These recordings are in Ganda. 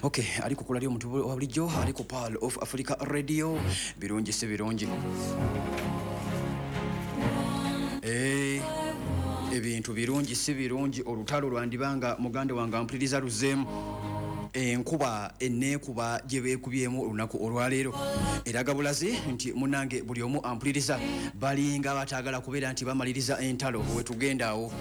Ok, ali ku kula ly'omuntu wa bulijjo, ali ku Pearl of Africa Radio. Birungi si birungi. Ebintu birungi si birungi. Olutalo lwandibanga muganda wange ampuliriza luzeemu. Enkuba eneekuba gye beekubyemu olunaku olwaleero eraga bulazi nti munange buli omu ampuliriza balinga bataagala kubeera nti bamaliriza entalo. Wetugenda awo,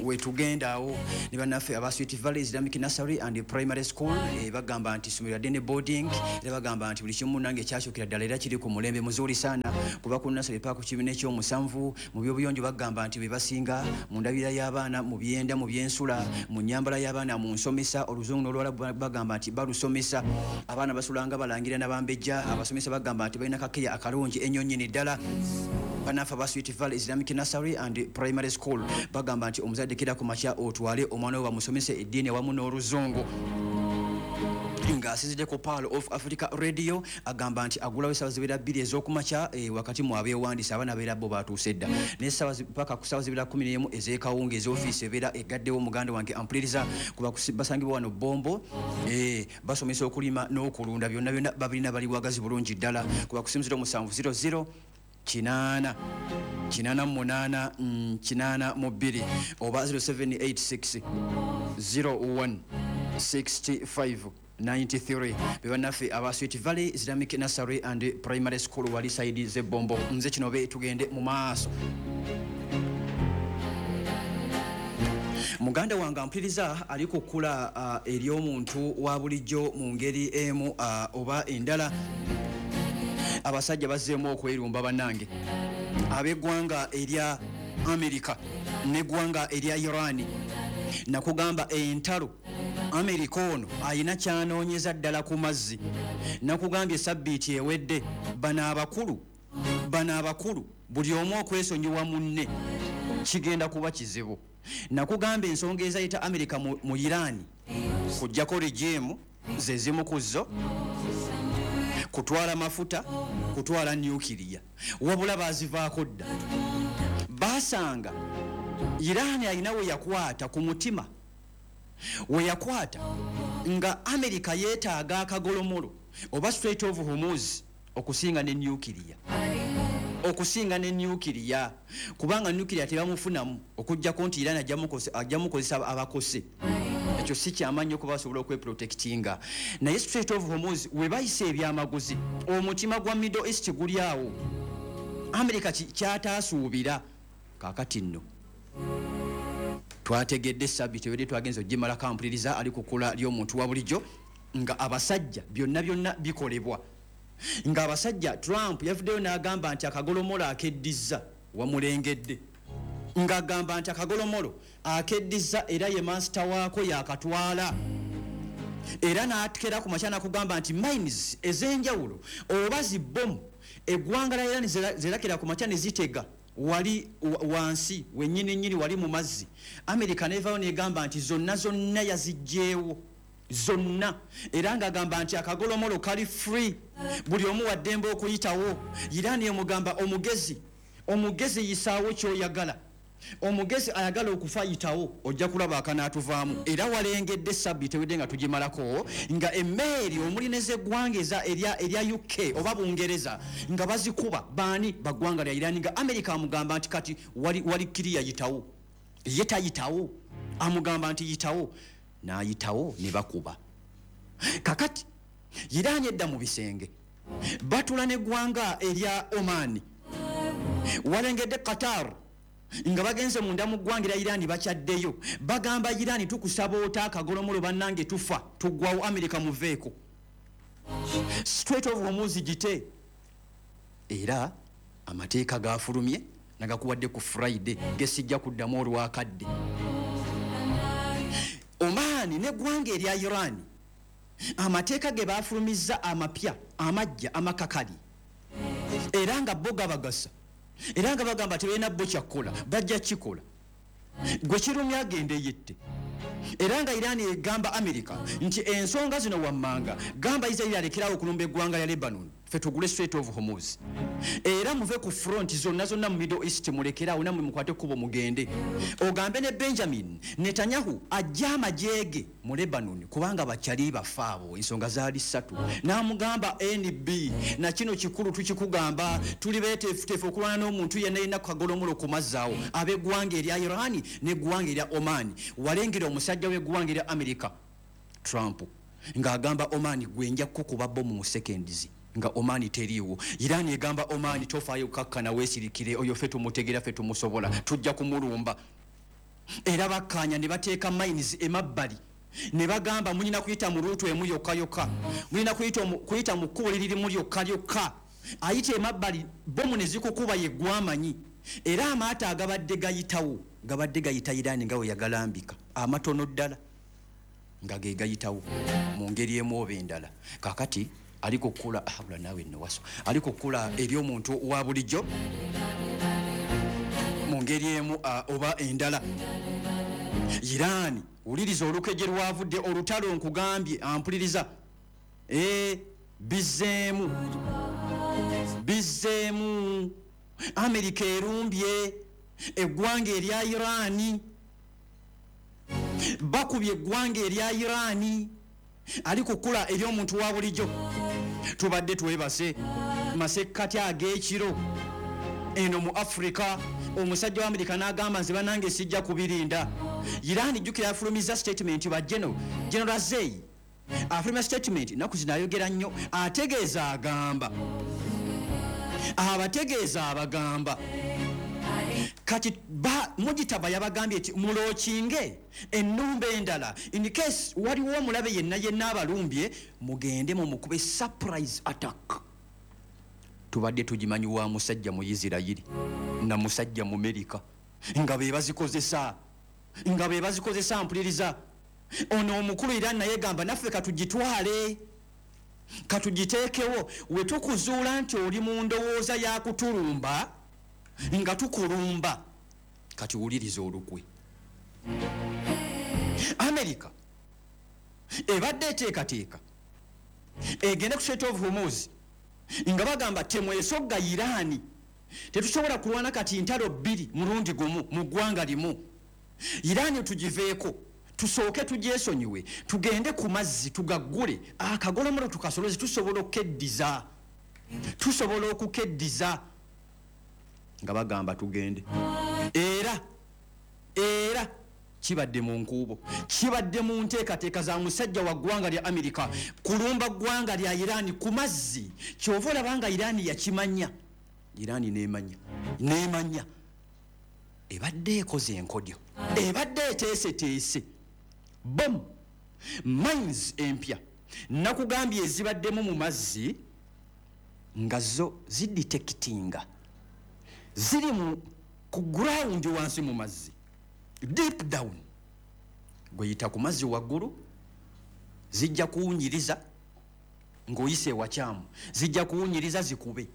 wetugenda awo ne bannaffe aba Sweet Valley Islamic Nursery and Primary School, bagamba nti ssomero lya ne boarding, era bagamba nti buli kimu munange kyakyukira ddala era kiri ku mulembe muzuuli saana kuba ku nursery paka ku kibiina ekyomusanvu. Mu byobuyonjo bagamba nti be basinga, mu ndabirira y'abaana, mu byenda, mu byensula, mu nnyambala y'abaana, mu nsomesa, oluzungu n'oluwalabu bagamba nti balusomesa. Abaana basulanga balangira nabambejja. Abasomesa bagamba nti balina kakeya akalungi ennyo nnyini ddala. Bannaffe aba Sweet Valley Islamic Nursery and Primary School bagamba nti omuzadde kera ku makya otwale omwana we bamusomese eddiini awamu n'oluzungu. Ng'asinzidde ku Pearl of Africa Radio, agamba nti agulawo essaawa zibeera 2 ez'okumakya, wakati mu abeewandiisa abaana beera bo batuuse dda, n'essaawa paka ku ssaawa zibeera 11 ez'ekawunga ez'ofiisi ebeera egaddewo. Muganda wange ampuliriza, kuba basangibwa wano Bombo, basomesa okulima n'okulunda, byonna byonna babirina, bali wagazi bulungi ddala. Kuba ku simu 0700 8 88 82 oba 0786 01 65 93. Be bannaffe aba Sweet Valley Islamic Nursery and Primary School, wali side z'Ebombo. Nze kino be tugende mu maaso. Muganda wange ampuliriza ali ku kkula ery'omuntu wa bulijjo mu ngeri emu oba endala. Abasajja bazzeemu okwerumba bannange, ab'eggwanga erya Amerika n'eggwanga erya Iran. Nakugamba entalo, Amerika ono ayina kyanoonyeza ddala ku mazzi. Nakugambye sabbiiti ewedde, bano abakulu buli omu okwesonyiwa munne kigenda kuba kizibu. Nakugamba ensonga ezayita Amerika mu Iran kujjako regime zezimu ku zo, kutwala mafuta, kutwala nuclear, wabula bazivaako dda. Basanga Iran alina we yakwata ku mutima, we yakwata nga Amerika yeetaaga akagolomolo oba Strait of Hormuz okusinga ne nuclear, okusinga ne nuclear, kubanga nuclear tebamufunamu okugjako nti Iran ajja mukozesa abakose. Ekyo si kyamaanyi okuba basobola okweprotectinga, naye Strait of Hormuz we bayisa ebyamaguzi, omutima gwa Middle East guli awo. Amerika kyataasuubira. Kaakati nno twategedde sabiti ewedde twagenza ogimalako, ampuliriza ali kukula ly'omuntu wa bulijjo, nga abasajja byonna byonna bikolebwa, ng'abasajja Trump yavuddeyo n'agamba nti akagolomolo akeddiza wamulengedde, ng'agamba nti akagolomolo akeddiza era ye master waako yakatwala, era n'atekera ku makya nakugamba nti mines ez'enjawulo oba zibbomu eggwanga lya Iran zerakera ku makya ne zitega wali wansi wennyini nnyini wali mu mazzi. Amerika nevayo negamba nti zonna zonna yazigjeewo zonna, era ng'agamba nti akagolomolo kali free, buli omu waddembe okuyitawo. Iran emugamba, omugezi, omugezi yisaawo kyoyagala, omugezi ayagala okufa yitawo, ojja kulaba akanaatuvaamu. Era walengedde sabbiiti ewedde nga tugimalako nga emmeeri omuli nezeggwanga erya UK oba Bungereza nga bazikuba baani baggwanga lya Iran, nga Amerika amugamba nti kati wali kiriya, yitawo. Ye tayitawo, amugamba nti yitawo, n'ayitawo ne bakuba. Kakati Iran edda mu bisenge batula neggwanga erya Oman, walengedde Qatar nga bagenze munda mu ggwanga erya Iran, bakyaddeyo bagamba Iran, tukusaba ota akagolomolo, bannange tufa tuggwawo, Amerika muveeko, Strait of Hormuz gite. Era amateeka gafulumye nagakuwadde ku Friday gesijja kuddamu olwakadde. Oman neggwanga erya Iran amateeka ge bafulumizza amapya amajja amakakali, era nga bo gabagasa, era nga bagamba tebalina bo kyakkola, bajja kikola. Gwe kirumya agende yette. Era nga Iran egamba America nti ensonga zino wammanga gamba Israeri alekerawo okulumba eggwanga lya Lebanon. Ffe tugule Strait of Hormuz, era muve ku front zonna zonna mu Middle East, mulekere awo, nammwe mukwate ekkubo mugende. Ogambe ne Benjamin Netanyahu ajje amagye ge mu Lebanon, kubanga bakyali bafe abo. Ensonga zaali ssatu. N'amugamba nb na kino kikulu tukikugamba, tuli beeteefuteefu okulwana n'omuntu yenna yenna ku kagolomulo ku mazzi awo, ab'eggwanga erya Iran n'eggwanga erya Oman. Walengera omusajja w'eggwanga erya America Trump ng'agamba Oman, gwe nja kukuba bomu mu seconds, nga Oman teriiwo. Iran egamba Oman, tofaayo, kakkana, weesirikire, oyo ffe tumutegera, ffe tumusobola, tujja kumulumba. Era bakkaanya ne bateeka mines emabbali ne bagamba mulina kuyita mu route emu yokka yokka, mulina kuyita mu kkubo liririmu lyokka lyokka. Ayita emabbali, bomu ne zikukuba, yeggwamanyi. Era amaato agabadde gayitawo gabadde gayita Iran nga we yagalambika, amatono ddala nga ge gayitawo mu ngeri emu oba endala. Kakati ali kukula abula naawe nno waso ali kukula eri omuntu wa bulijjo mu ngeri emu oba endala. Iran, wuliriza olukeje lwavudde olutalo, nkugambye ampuliriza. Bizzeemu, bizzeemu. Amerika erumbye eggwanga erya Irani, bakubye eggwanga erya Irani. Ali kukula eri omuntu wa bulijjo. Tubadde twebase masekkati ag'ekiro eno mu Africa, omusajja wa Amerika n'agamba, nze banange sijja kubirinda. Iran, jjukira, yafulumiza statement. Ba General Zei afulumya statement naku zino, ayogera nnyo, ategeeza, agamba, abategeeza, abagamba kati Mujitaba yabagambye nti mulaunchinge ennumba endala in case waliwo omulabe yenna yenna abalumbye, mugende mumukube surprise attack. Tubadde tugimanyi wa musajja mu Isirayiri na musajja mu Merika nga be bazikozesa, nga be bazikozesa. Mpuliriza, ono omukulu era naye gamba naffe katugitwale, katugiteekewo, we tukuzuula nti oli mu ndowooza ya kutulumba nga tukulumba. Kati wuliriza olukwe. Amerika ebadde eteekateeka egende ku Strait of Hormuz nga bagamba temwesogga Iraani, tetusobola kulwana kati ntalo bbiri mulundi gumu mu ggwanga limu. Iraani tugiveeko, tusooke tugyesonyiwe, tugende ku mazzi tugaggule, akagolomolo tukasoloze, tusobola okukeddiza, tusobola okukeddiza. Nga bagamba tugende. Era kibadde mu nkuubo, kibadde mu nteekateeka za musajja wa ggwanga lya Amerika kulumba ggwanga lya Iraani ku mazzi. Kyova olaba nga Iraani yakimanya, Iraani nemanya, nemanya ebadde ekoze enkodyo, ebadde eteeseteese bom mines empya. Nakugambye ezibaddemu mu mazzi nga zo zidetectinga, ziri mu ku ground wansi mu mazzi, deep down. Gweyita ku mazzi waggulu, zijja kuwunyiriza ng'oyise ewakyamu, zijja kuwunyiriza zikube.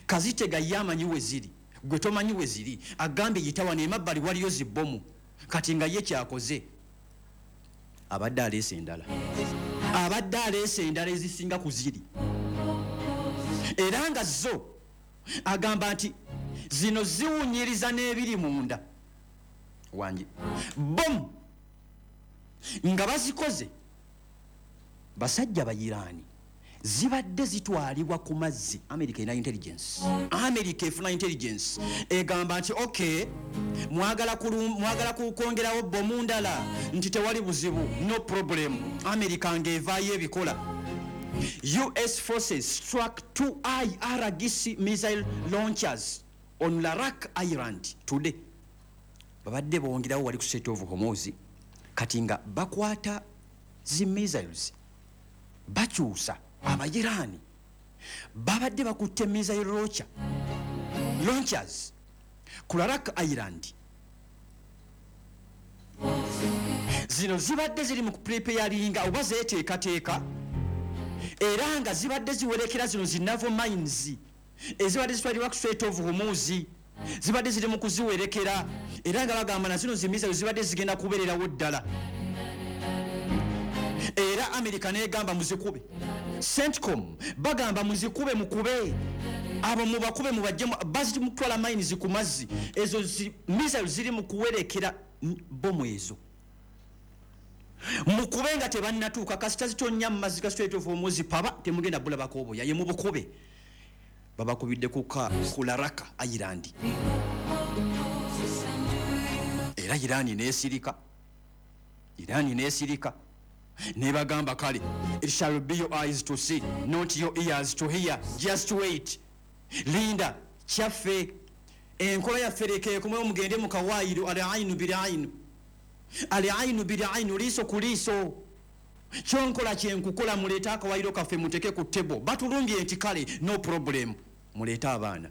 Kazitega ye amanyi we ziri, gwe tomanyi we ziri. Agambye yita wano emabbali waliyo zibbomu. Kati nga ye kyakoze, abadde aleese endala, abadde aleese endala ezisinga ku ziri, era nga zo agamba nti zino ziwunyiriza n'ebiri munda wange. Bomu nga bazikoze basajja Bayiraani, zibadde zitwalibwa ku mazzi. America erina intelligence, America efuna intelligence, egamba nti ok, mwagala kwongerawo bomu ndala, nti tewali buzibu, no problem. America ng'evaayo ebikola. US forces struck two IRGC missile launchers on Larak Island today. Babadde bongerawo wali ku Strait of Hormuz. Kati nga bakwata zi missiles bakyusa. Abayiraani babadde bakutte missile launchers ku Larak Island. Zino zibadde ziri mu kupreparinga oba zeteekateeka, era nga zibadde ziwerekera zino zi naval mines ezibadde zitwalibwa ku Strait of Hormuz, zibadde ziri mu kuziwerekera, era nga bagamba na zino zi missile zibadde zigenda kubeererawo ddala. Era Amerika negamba muzikube, CENTCOM bagamba muzikube, mukube abo, mubakube, mubajje baziti mutwala mines ku mazzi. Ezo missile ziri mu kuwerekera bomu, ezo mukube nga tebannatuuka. Kasita zitonnya mu mazzi ga Strait of Hormuz, paba temugenda bulabako obuya ye. Mubukube. Babakubidde ku Larak Island, era Irani nesirika. Irani nesirika nebagamba, "Kale, it shall be your eyes to see, not your ears to hear. Just wait, linda kyaffe, enkola yaffe lekeekomewo. Mugende mu kawaayiro, al ainu bil ainu, al ainu bil ainu, liiso ku liiso, kyonkola kyenkukola. Muleete akawaayiro kaffe muteke ku table. Batulumbye nti kale, no problem, muleete abaana."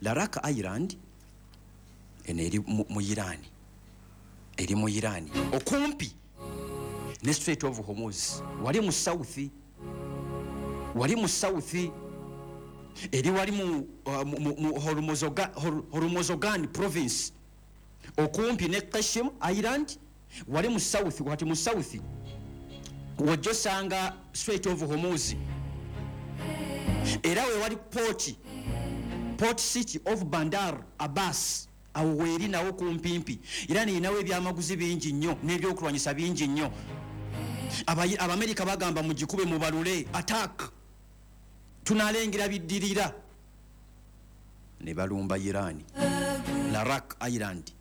Larak Island eno eri mu Irani, eri mu Irani okumpi ne Strait of Hormuz, wali mu south, wali mu south, eri wali mu Hormozogan province, okumpi ne Qeshm Island, wali mu south. Kati mu south wojja osanga Strait of Hormuz, era we wali port city of Bandar Abbas. Awo weeri nawo kumpimpi. Era niyinawo ebyamaguzi bingi nnyo n'ebyokulwanyisa bingi nnyo. Abamerika bagamba mugikube, mubalule, attack, tunalengera biddirira. Ne balumba Irani, Larak Island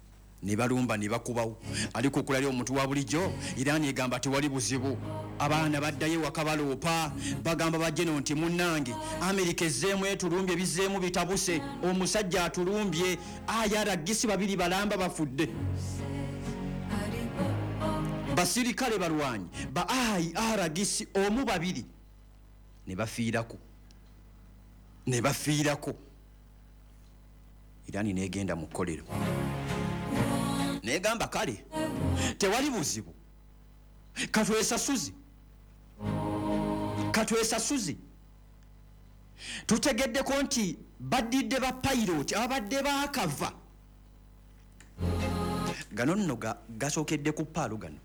ne balumba ne bakubawo. Aliko okulali omuntu wa bulijjo, Irani egamba tewali buzibu. Abaana baddayo ewaka, baloopa, bagamba bajeno nti munnange, Amerika ezzeemu etulumbye, bizzeemu bitabuse, omusajja atulumbye, IRGC babiri balamba bafudde, basirikale balwanyi ba IRGC omu babiri ne bafiirako, ne bafiirako. Irani negenda mu kkolero negamba, kale tewali buzibu, katwesasuzi, katwesasuzi. Tutegeddeko nti baddidde ba pilot ababadde baakava. Gano nno gasookedde ku paalo gano.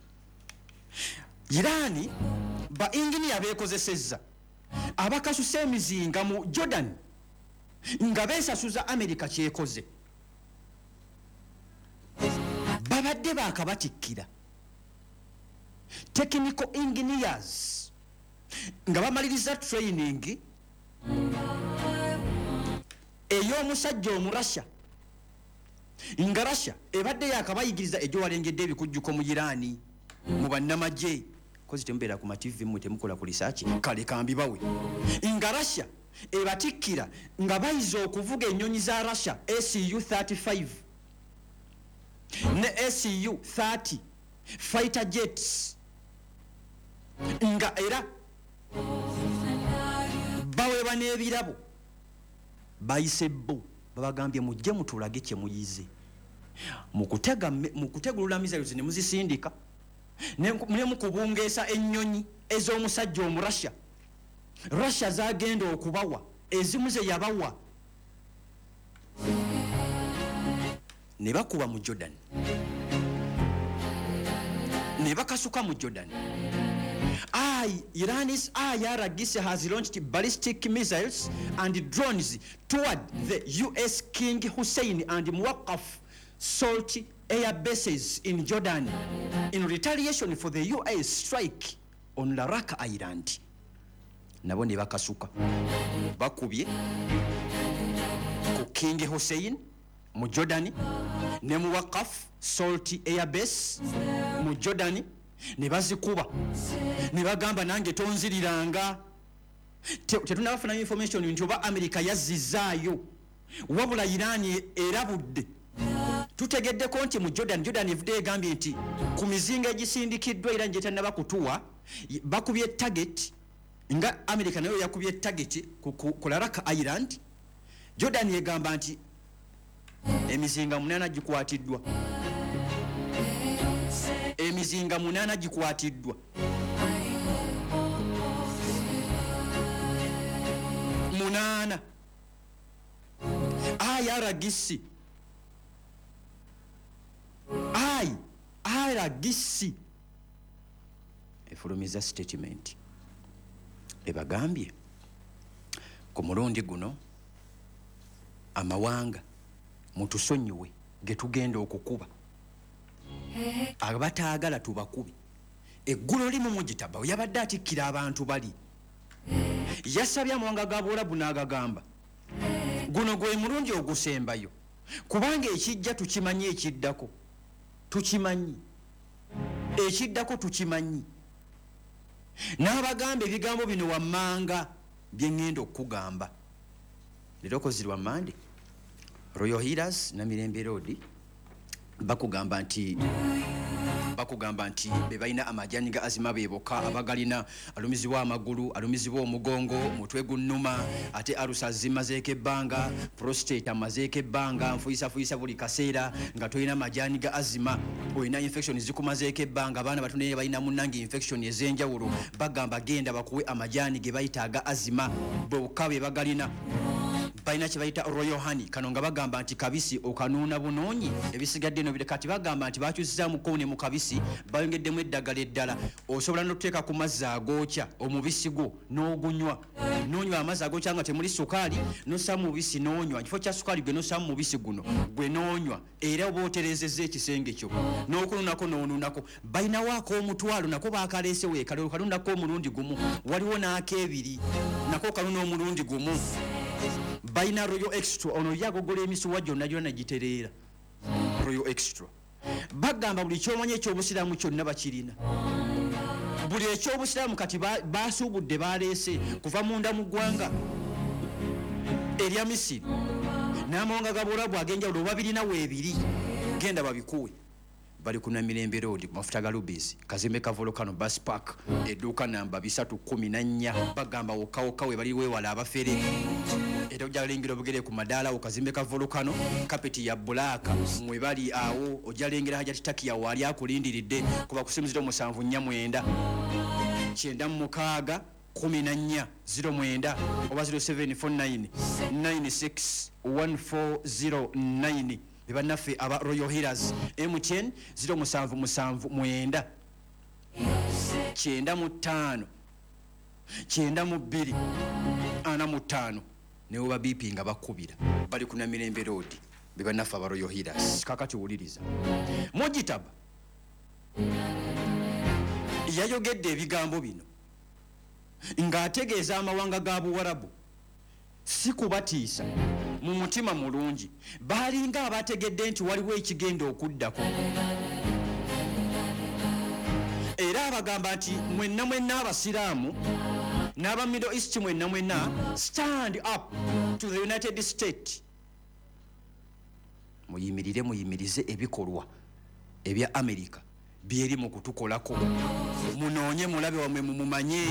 Irani ba inginiya beekozesezza abakasusa emizinga mu Jordan nga beesasuza Amerika kyekoze. Babadde baakabatikkira technical engineers nga bamaliriza training ey'omusajja Omurasha, nga Russia ebadde yakabayigiriza. Ejo walengedde ebikujjuko mu Irani mu bannamagye, kozi temubeera ku mativi, mmwe temukola ku research. Kale kambibawe. Nga Russia ebatikkira nga bayiza okuvuga ennyonyi za Russia Su 35 ne Su 30 fighter jets, nga era baweebwa n'ebirabo. Bayise bo babagambye, mujje mutulage kye muyize mu kutegulula missiles ne muzisindika ne mukubungeesa ennyonyi ez'omusajja Omurasha. Russia zagenda okubawa ezimu ze yabawa ne bakuba mu Jordan, ne bakasuka mu Jordan. Iran's IRGC has launched ballistic missiles and drones toward the US King Hussein and Muwaqqaf Salt air bases in Jordan in retaliation for the US strike on Larak Island. Nabo ne bakasuka, bakubye ku King Hussein mu Jordan ne Muwaqqaf Salt air base mu Jordan, ne bazikuba ne bagamba, nange tonziriranga. Tetunabafuna information nti oba America yazzizaayo, wabula Irani erabudde. Tutegeddeko nti mu Jordan, Jordan evudde egambye nti ku mizinga egisindikiddwa Iran gyetanaba kutuwa, bakubye target nga America nayo yakubye target ku Larak Island. Jordan egamba nti emizinga 8 gikwatiddwa, emizinga 8 gikwatiddwa, 8. IRGC, IRGC efulumiza statement. Ebagambye ku mulundi guno amawanga mutusonyiwe ge tugenda okukuba, abataagala tubakube. Eggulo limu Mujitaba yabadde atikkira abantu bali, yasabye amawanga ga Buwarabu n'agagamba guno gwe mulundi ogusembayo, kubanga ekijja tukimanyi, ekiddako tukimanyi, ekiddako tukimanyi. N'abagamba ebigambo bino wammanga bye ŋŋenda okukugamba leero kozirwa Mande. Royal Healers, Namirembe Road, bakugamba nti be balina amajani ga asthma, be bokka abagalina. Alumizibwa amagulu, alumizibwa omugongo, mutwe gunnuma, ate alusa zimazeeko ebbanga, prostate amazeeko ebbanga, nfuyisafuyisa buli kaseera, nga tolina majani ga asthma, olina infection zikumazeeko ebbanga, abaana bato naye balina munnange infection ez'enjawulo, bagamba genda bakuwe amajani ge bayita aga asthma, bokka be bagalina. Balina kye bayita Royal Honey, kano nga bagamba nti kabisi okanuuna bunoonyi, ebisigadde no bire. Kati bagamba nti bakyusizaamuko ne mu kabisi bayongeddemu eddagala eddala. Osobola n'otuteeka ku mazzi agookya omubisi gwo n'ogunywa, n'onywa amazzi agookya nga temuli sukaali, nossa mu mubisi n'onywa. Kifo kya sukaali gwe nossa mu mubisi guno gwe n'onywa, era oba otereezezza ekisenge kyo n'okununako n'onunako. Balinawo ak'omutwalo, nako bakaleese weekale, okanunako omulundi gumu. Waliwo n'ak'ebiri, nako kanuna omulundi gumu. Balina Royal Extra, ono ye agogola emisuwa gyonna gyonna negitereera. Royal Extra bagamba buli kyomanyi ekyobusiraamu kyonna bakirina, buli ekyobusiraamu. Kati basuubudde, baleese kuva munda mu ggwanga erya Misiri n'amawanga ga Buwarabu ag'enjawulo, oba birina weebiri, genda babikuwe. Bali ku Namirembe Road, ku mafuta ga Rubis, kazimbe ka Volcano Bus Park, edduuka namba 314. Bagamba wokka wokka we bali, weewala abafere, era ojja lengera obugere ku madaala awo, kazimbe ka Volcano, kapeti ya black, mwe bali awo. Ojja lengera Hajati Takiya waali akulindiridde. Kuba ku simu 0749 96 14 09 oba 0749 96 1409. Bebannaffe aba Royal Healers. MTN 0779 95 92 45, newoba bipi nga bakubira. Bali ku Namirembe Road, bebannaffe aba Royal Healers. Kakati wuliriza, Mujitaba yayogedde ebigambo bino ng'ategeeza amawanga ga Buwarabu, si kubatiisa, mu mutima mulungi. Baalinga abategedde nti waliwo ekigenda okuddako, era abagamba nti mwenna mwenna abasiraamu n'aba Middle East, mwenna mwenna, stand up to the United State, muyimirire, muyimirize ebikolwa ebya America byeri mu kutukolako, munoonye mulabe wamwe, mumumanye,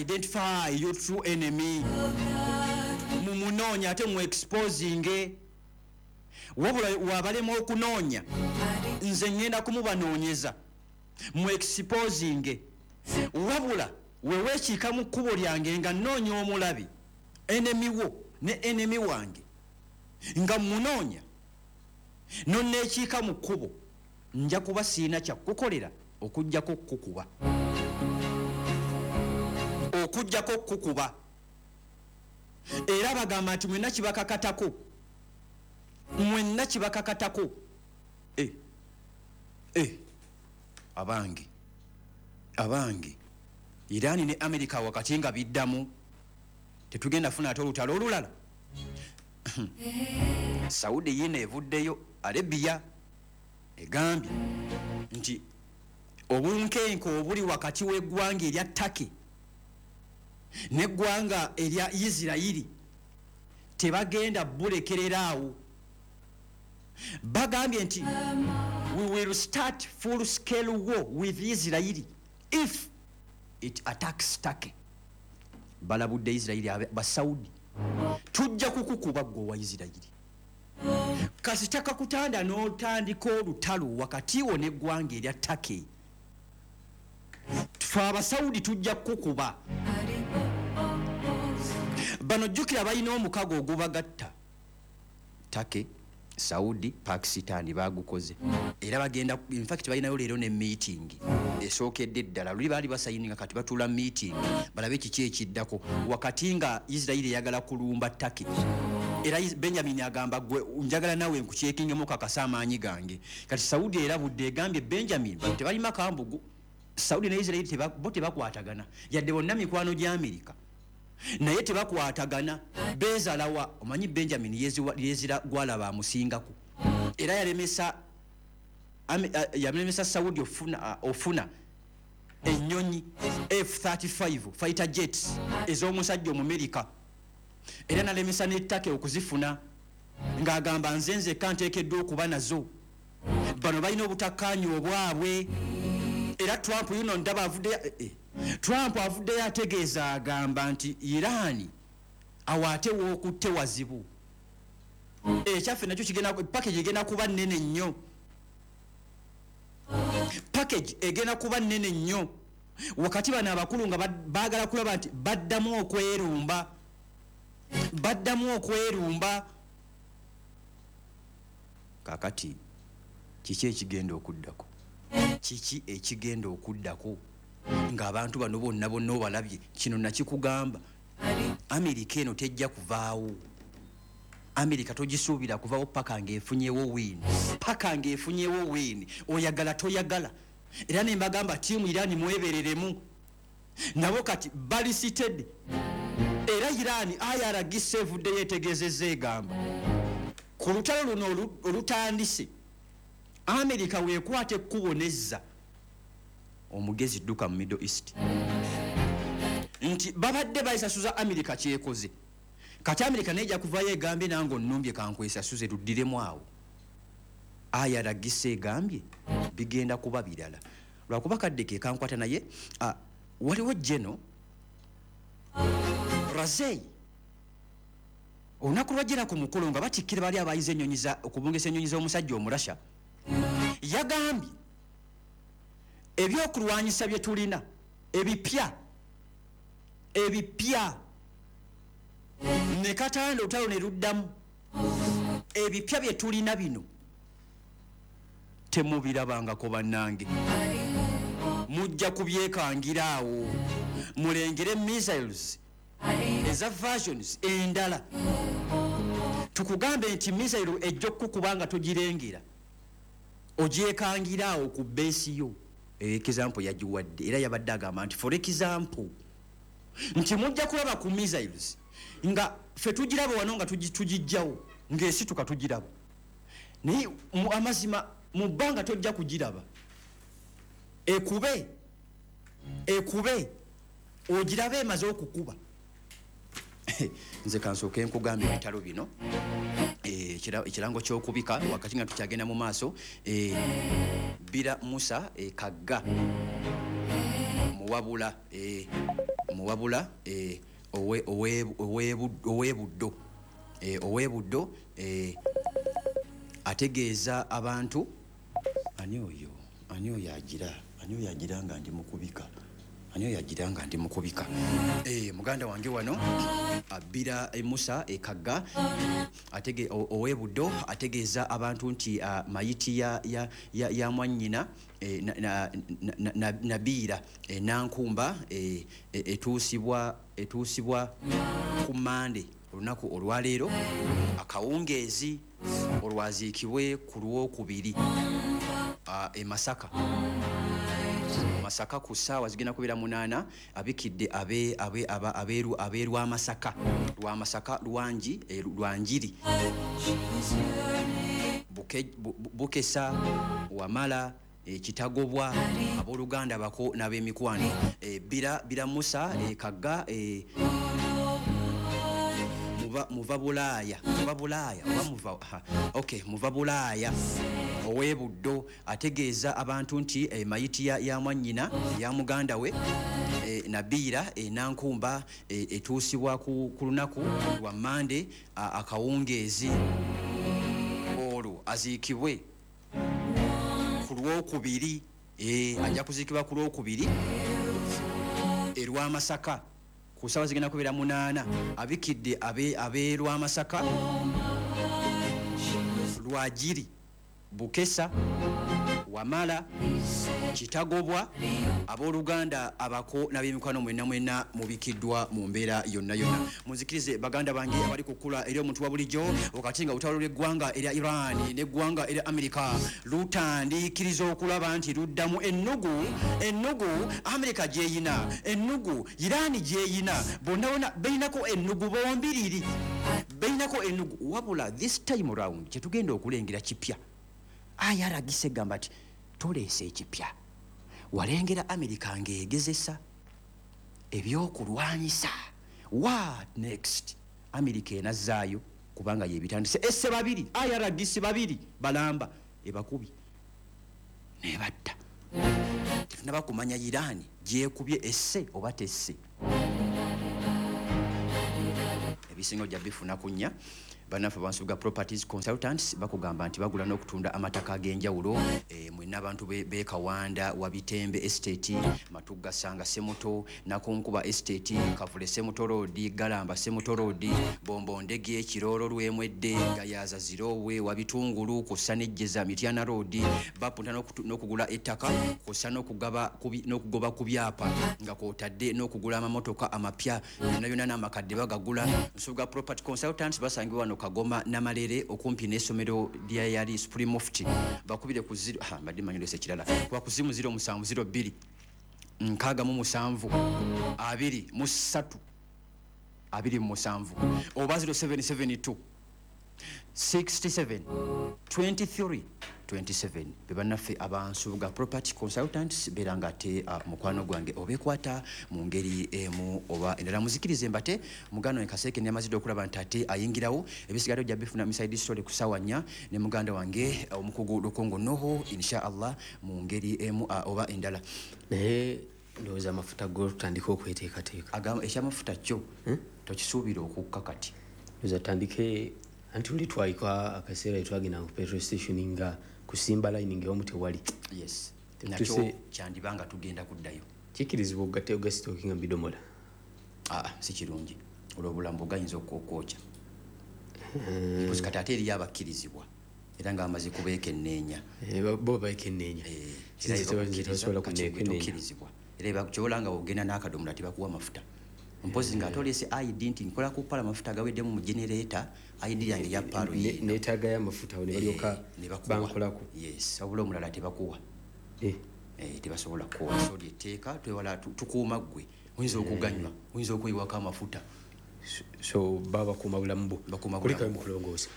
identify your true enemy, mumunoonye ate mu exposinge. Wabula wabalema okunoonya, nze ŋŋenda kumubanoonyeza, mu exposinge. Wabula weweekiika mu kkubo lyange nga nnoonya omulabe, enemy wo ne enemy wange, nga munoonya nonneekiika mu kkubo, nja kuba siina kyakkukolera okugjako kukuba, okugjako kukuba. Era bagamba nti mwenna kibakakatako, mwenna kibakakatako. Abange, abange, Irani ne America wakati nga biddamu, tetugenda funa ate olutalo olulala. Saudi yina evuddeyo, Arabia egambye nti obunkenke obuli wakati w'eggwanga erya Turkey n'eggwanga erya Isirayiri tebagenda bulekerera awo. Bagambye nti we will start full scale war with Israeli if it attacks Turkey. Balabudde Isirayiri, Basaudi, tujja kukukuba gwe owa Isirayiri kasita kakutanda n'otandika olutalo wakati wo n'eggwanga erya Turkey. Fe Abasaudi tujja kukukuba. Bano jjukira balina omukago ogubagatta, Turkey, Saudi, Pakistan, bagukoze era bagenda, infact balinayo leero ne meeting Esookedde ddala luli baali basayininga, kati batuula meeting balabe kiki ekiddako, wakati nga Isirairi eyagala kulumba Turkey. Era Benjamin agamba, gwe njagala nawe nkukyekingemu kakasa amaanyi gange. Kati Saudi erabudde, egambye Benjamin tebalima kambugu. Saudi ne Isirairi bo tebakwatagana, yadde bonna mikwano gya Amerika, naye tebakwatagana, beezalawa. Omanyi Benjamin yezira gwalaba amusingako, era yalemesa Saudi ofuna ennyonyi F35 fighter jets ez'omusajja Omumerika, era nalemesa ne Turkey okuzifuna, ng'agamba nze nzekka nteekeddwa okuba nazo. Bano balina obutakkaanya obwabwe. Era Trump yuno ndaba avuddeyo, Trump avuddeyo ategeeza, agamba nti Iran awo ate wookutte wazibu. Ekyaffe nakyo kigenda, package egenda kuba nnene nnyo, package egenda kuba nnene nnyo. Wakati bano abakulu nga baagala kulaba nti baddamu okwerumba, baddamu okwerumba. Kakati kiki ekigenda okuddako? Kiki ekigenda okuddako ng'abantu bano bonna bonna obalabye? Kino nakikugamba, Amerika eno tejja kuvaawo. Amerika togisuubira kuvawo paka ng'efunyewo win, paka ng'efunyewo win, oyagala toyagala. Era ne mbagamba, team Irani mwebereremu, nabo kati bali seated. Era Irani, IRGC evuddeyo etegeezezza, egamba ku lutalo luno olutandise, Amerika weekwata ekkubo nezza omugezi dduka mu Middle East, nti babadde bayisasuza Amerika kyekoze. Kati Amerika naye ejja kuvayo egambye, nange onnumbye, kankwesasuze, luddiremu awo. IRGC egambye bigenda kuba birala, lwakuba kadde ke kankwata. Naye waliwo General Razei, olunaku lwajjera ku mukolo nga batikkira bali abayiza ennyonyi okubungisa ennyonyi z'omusajja Omurasha, yagambye ebyokulwanyisa bye tulina ebipya ebipya, ne katanda olutalo ne luddamu, ebipya bye tulina bino temubirabangako. Bannange, mujja kubyekangira awo, mulengere missiles eza versions endala. Tukugambe nti missile ejja okukuba nga togirengera, ogyekangira awo ku base yo. Example yagiwadde, era yabadde agamba nti, for example, nti mujja kulaba ku missiles nga ffe tugiraba wano nga tugijjawo ng'esituka tugiraba, naye amazima mu bbanga tojja kugiraba, ekube ekube ogirabe emaze okukuba. Nze kansooke nkugamba ebitalo bino. Ekirango ky'okubika, wakati nga tukyagenda mu maaso, Bira Musa Kagga Muwabula, Muwabula, ow'Ebuddo, ow'Ebuddo, ategeeza abantu. Ani oyo? Ani oyo agira? Ani oyo agira nga ndi mukubika? Ani oyo agira nga ndi mukubika? Muganda wange wano Abira Musa Ekagga ow'Ebuddo ategeeza abantu nti mayiti ya mwannyina Nabiira Nankumba etuusibwa ku Mande, olunaku olwaleero akawungeezi, olwaziikibwe ku Lwokubiri e Masaka, Masaka, ku ssaawa zigenda kubeera 8. Abikidde abeerwamasaka, Lwamasaka, Lwangi, Lwanjiri, Bukesa, Wamala, Kitagobwa, abooluganda bako n'ab'emikwano. Bira Musa Kagga, muva Bulaaya, muva Bulaaya oba muva, okay, muva Bulaaya, ow'Ebuddo, ategeeza abantu nti mayiti ya mwannyina, ya muganda we Nabiira Nankumba etuusibwa ku lunaku lwa Mande akawungeezi, olwo aziikibwe ku Lwokubiri. Ajja kuziikibwa ku Lwokubiri erwamasaka ku ssaawa zigenda kubeera 8. Abikidde abeerwamasaka, Lwajiri, Bukesa, Wamala, Kitagobwa, abooluganda abako n'ab'emikwano mwenna mwenna mubikiddwa mu mbeera yonna yonna. Munzikirize baganda bange abali ku kkula eri omuntu wa bulijjo, wakati nga olutalo lw'eggwanga erya Iran n'eggwanga erya Amerika lutandiikiriza okulaba nti luddamu ennugu, ennugu Amerika gy'eyina, ennugu Iran gy'eyina, bonna bonna beyinako ennugu bombiriri, beyinako ennugu. Wabula this time round kyetugenda okulengera kipya. IRGC egamba nti toleese ekipya, walengera Amerika ng'egezesa ebyokulwanyisa. What next? Amerika enazzaayo kubanga yebitandise. Esse babiri, IRGC babiri balamba ebakubi nebatta. Tetunaba kumanya Iran gyekubye esse oba tesse. Ebisinga ojja bifuna ku nnya. Bannaffe Bansubuga Properties Consultants bakugamba nti bagula n'okutunda amataka ag'enjawulo. Mwenna abantu b'e Kawanda, Wabitembe Estate, Matugga Sanga Semuto, Nakunkuba Estate, Kavule Semuto Road, Galamba Semuto Road, Bombo Ndege, Kiroro Lwemwedde, Gayaza Zirowe, Wabitungulu, kw'ossa n'Ejjeza Mityana Road. Bapunta n'okugula ettaka kw'ossa n'okugoba ku byapa nga kw'otadde n'okugula amamotoka amapya, byonna byonna n'amakadde bagagula. Nsubuga Property Consultants basangibwa wano Kagoma Namalere okumpi n'essomero lya yali Supreme Mufti. Bakubire ku zero, ha, mbadde mmanyi olese ekirala. Kuba ku simu zero musanvu zero bbiri, nkaaga mu musanvu, abiri mu ssatu, abiri mu musanvu, oba zero seven seven two, 67, 23, 27. Be bannaffe Abansubuga Property Consultants, beera nga ate mukwano gwange obeekwata mu ngeri emu oba endala. Muzikirize mbate muganda wange Kaseeke neyamazidde okulaba nti ate ayingirawo. Ebisigadde ojja bifuna Miside Story ku ssaawa 4 ne muganda wange omukugu Lukongo Noho, insha Allah, mu ngeri emu oba endala. Naye ndowooza amafuta go tutandike okweteekateeka. Agamba ekyamafuta kyo tokisuubira okukka kati. Ndowooza tutandike, anti luli twayika akaseera twagenda ku petrol station nga kusimba line ng'ewamu tewali. Yes. Tetuse Nakyo kyandiba nga tugenda kuddayo. Kikirizibwa okugatta ogasitooki nga bidomola? Aa, si kirungi. Olw'obulambo gayinza okwokya. Mpozi kati ate eriyo abakkirizibwa era nga bamaze kubeekenneenya. Bo beekenneenya. Era Sinze tebasobola kati kunneekenneenya. Tokkirizibwa. Era kyobola nga ogenda n'akadomola tebakuwa mafuta. Mpozi nga ate ID nti nkola ku pala amafuta agaweddemu mu generator, ID yange ya palo yeeno. Neetaagayo amafuta awo ne balyoka Ne bakuwa. bankolako. Yes, wabula omulala tebakuwa. Tebasobola kukuwa. So lyetteeka twewala tukuuma ggwe. Oyinza okuganywa, oyinza okweyiwako amafuta. So baba bakuuma bulamu bwo. Bakuuma Kulikayo bulamu mu kulongoosa.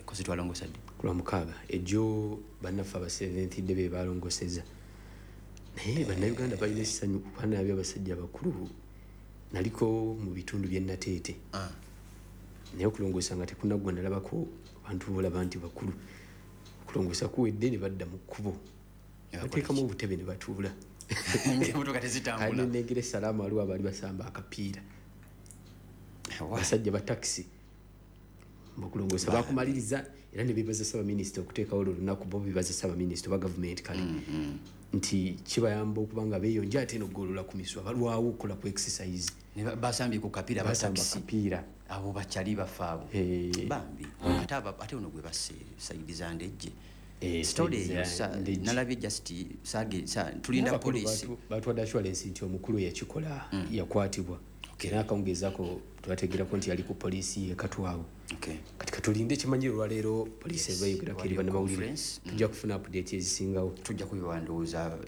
Kozi twalongoosa ddi? Ku lwa mukaaga. Ejjo bannaffe aba Seventh Day be balongoosezza. Naye bannayuganda balina essanyu kuba nabyo abasajja abakulu. Naliko mu bitundu by'e Nateete. Naye okulongoosa nga tekunaggwa nalabako abantu bolaba nti bakulu. Okulongoosa kuwedde ne badda mu kkubo. Ne bakola Bateekamu ki? obutebe ne batuula. Ng'emmotoka tezitambula. Kale nengera Salaamu waliwo abaali basamba akapiira. Abasajja ba takisi. Okulongoosa bakumaliriza era ne beebaza Ssaabaminisita okuteekawo olwo olunaku, bo beebaza Ssaabaminisita oba gavumenti kale. Nti kibayamba okuba nga beeyonja ate n'okugolola ku misuwa, balwawo okukola ku exercise. Ne basambye ku kapiira ba Basamba takisi. kapiira. Abo bakyali bafe abo. Bambi. Ate ate ono gwe basse sayidi za Ndejje. Story eyo Ndejje. nalabye just sage, tulinda N'abakulu poliisi. Batwadde assurance nti omukulu yakikola, yakwatibwa. Era akawungezaako twategeerako nti yali ku poliisi ye Katwawo. Kati katulinde ekimanyi olwaleero poliisi eba eyogerako eri Waliyo bannamawulire. conference. Tujja kufuna update ezisingawo. Tujja kubiwa ndowooza,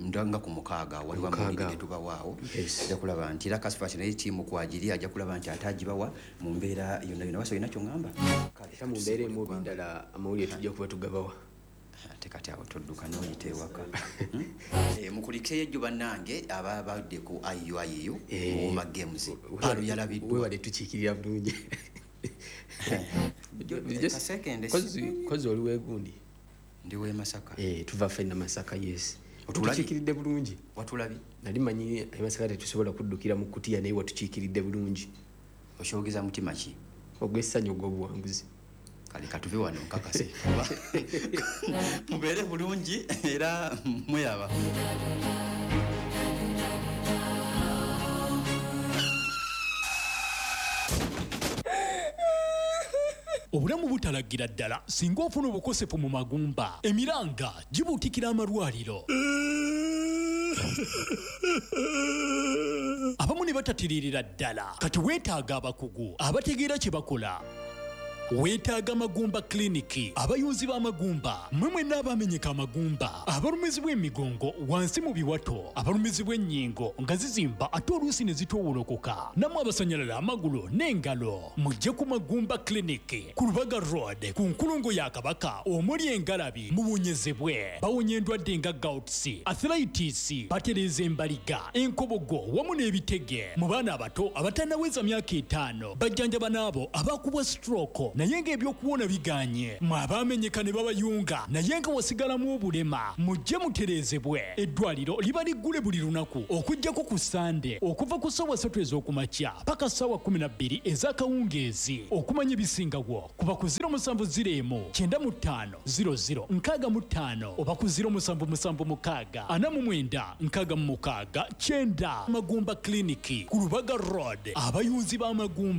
nga ku mukaaga, waliwo Mukaaga. amawulire ge tubawaawo. Ajja kulaba nti era Kasifasi naye ttiimu kwagiri, ajja kulaba nti ate agibawa mu mbeera yonna yonna. Wasa olina ky'oŋŋamba? Kale, Era mu mbeera emu oba endala amawulire tujja kuba tugabawa. Ate kati awo todduka n'oyita ewaka. Mukulikeyo ejjo bannange ababadde ku IUIU, Muwoma Games. Paalo yalabiddwa. Weewale tukiikirira bulungi. Kasekende Kozi oli weegundi? Ndi w'e Masaka. Tuva ffenna Masaka, yes. Otulabye? Tukiikiridde bulungi. Watulabye? Nali manyi e Masaka tetusobola kuddukira mu kutiya, naye watukiikiridde bulungi. Okyogeza mutima ki? Ogw'essanyu ogw'obuwanguzi. Kale katuve wano nkakase. Mubeere bulungi era mweraba. Obulamu butalagira ddala singa ofuna obukosefu mu magumba. Emiranga gibuutikira amalwaliro, abamu ne batatiririra ddala. Kati weetaaga abakugu abategeera kye bakola. Weetaaga Magumba Kiliniki, abayunzi b'amagumba. Mmwe mwenna abamenyeka amagumba, abalumizibwa emigongo wansi mu biwato, abalumizibwa ennyingo nga zizimba ate oluusi ne zitoowolokoka, nammwe abasanyalala amagulu n'engalo, mujje ku Magumba Kiliniki ku Lubaga Road, ku nkulungo ya Kabaka omuli engalabi, muwonyezebwe. Bawonya endwadde nga gouts, arthritis, batereeza embaliga, enkobogo wamu n'ebitege. Mu baana abato abatannaweza myaka 5 bajjanjaba n'abo abakubwa stroke naye ng'ebyokuwona biganye. Mwe abaamenyeka ne babayunga naye nga wasigalamu obulema, mujje mutereezebwe. Eddwaliro liba liggule buli lunaku okuggyako ku Sande, okuva ku ssaawa 3 ez'okumakya paka ssaawa 12 ez'akawungeezi. Okumanya ebisingawo kuba ku 070 95 00 65 oba ku 0776 49 66 9. Magumba Kiliniki ku Lubaga Road, abayunzi b'amagumba.